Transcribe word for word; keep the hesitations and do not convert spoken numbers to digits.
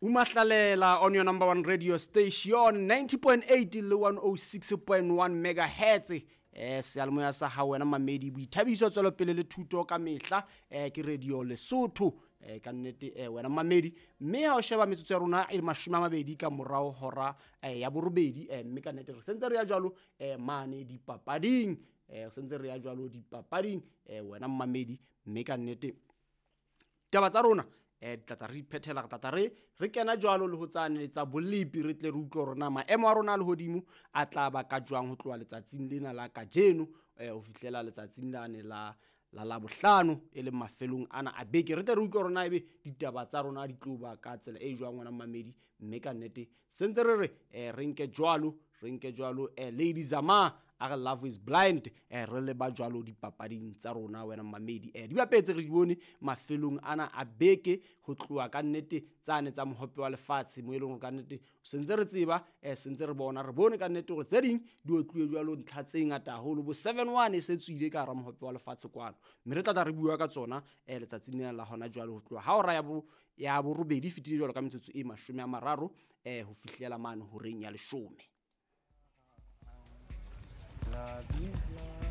Umahlalela on your number one radio station ninety point eight le one oh six point one megahertz. Eh, seyalemoya sa hao wena mamedi, boithabiso, tswelopele le thuto ka mehla. Eh, ke Radio Lesotho. Eh, ka nnete, eh, wena mamedi, mme ha o sheba metsotso ya rona e le mashome a mabedi ka morao hora, eh, ya borobedi, eh, mme ka nnete re sentse re ya jwalo, eh, mane dipapading. Eh, re sentse re ya jwalo dipapading, eh, wena mamedi, mme ka nnete taba tsa rona, eh, di tla tla re iphethela, re tla tla re, re kena jwalo le ho tsane tsa bolepi, re tle re utlwe hore na maemo a rona a lehodimo a tla ba ka jwang ho tloha letsatsing lena la kajeno, eh, ho fihlela letsatsing lane la, la Labohlano, e leng mafelong ana a beke. Re tle re utlwe hore na ebe ditaba tsa rona di tlo ba ka tsela e jwang wena mamedi, mme ka nnete sentse re re, eh, re nke jwalo, re nke jwalo, eh, Lady Zama a re Love is Blind, eh, re le ba jwalo dipapading tsa rona wena mamedi. Eh, di bapetse re di bone mafelong ana a beke ho tloha ka nnete tsane tsa mohope wa lefatshe, mo e leng hore ka nnete sentse re tseba, eh, sentse re bona, re bone ka nnete hore tse ding di otluwe jwalo ntlha tse ngata haholo, bo seven one e se tswile ka hara mohope wa lefatshe kwano, mme re tla tla re bua ka tsona, eh, letsatsing lena la hona jwale ho tloha ha hora ya bo, ya borobedi e fetile jwalo ka metsotso e mashome a mararo, eh, ho fihlela mane horeng ya leshome. Love you.